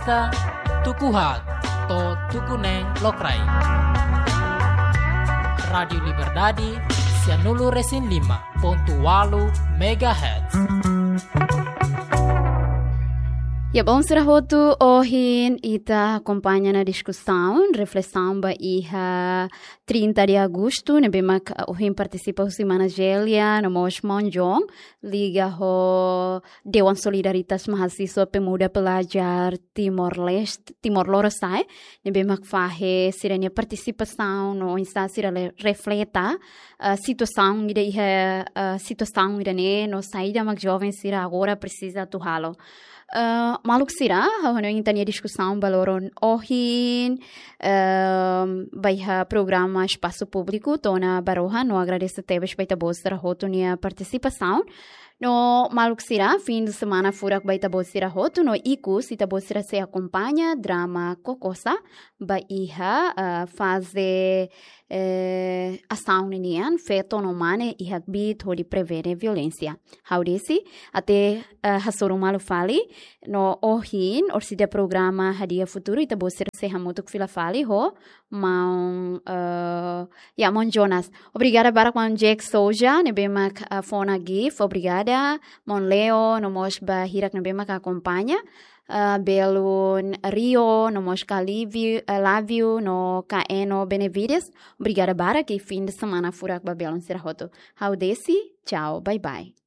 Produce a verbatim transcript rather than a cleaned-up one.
Ka tuku haat to'o tuku neen lokraik. Rádiu Liberdade, sianulu resin lima pontu walu megahertz. Ya, bom, sira hotu, ohin ita akompaña ona diskusaun, reflesaun ba iha trinta de agosto, ne'ebé mak, ah, ohin partisipa husi mana Gélia, no mós maun John, liga ho Dewan Solidaritas Mahasiswa Pemuda Pelajar Timor-Leste, Timor Lorosa'e, ne'ebé mak fahe sira-nia partisipasaun no oinsá sira le-, refleta, ah, situasaun ida iha, ah, situasaun ida-ne'e no saida mak joven sira agora presiza atu halo. Ah, maluk sira, ha'u hanoin ita-nia diskusaun ba loron ohin, ehm, ba iha programa Espasu Públiku to'o ona ba rohan, no agradese tebes ba ita-boot sira hotu nia partisipasaun. No maluk sira, fim de semana furak ba ita-boot sira hotu, no ikus ita-boot sira sei akompaña drama Kokosa ba iha, ah, faze, eh, asaun ninian, feto no mane iha kbiit hodi prevene violénsia. Ha'u desi, até, eh, hasoru malu fali, no ohin, orsida programa Hadi'a Futuru, ita-boot sira sei hamutuk fila fali ho maun, eh, ya, maun Jonas. Obrigada barak maun Jack Souza, ne'ebé mak, eh, fó ona gift, obrigada, maun Leo, no mós ba hirak ne'ebé mak akompaña, eh, belun Rio, no mós ka Livi-, eh, Lávio, no ka Eno Benevides. Obrigada barak i fim de semana furak ba belun sira hotu. Ha'u desi, tchau, bye bye.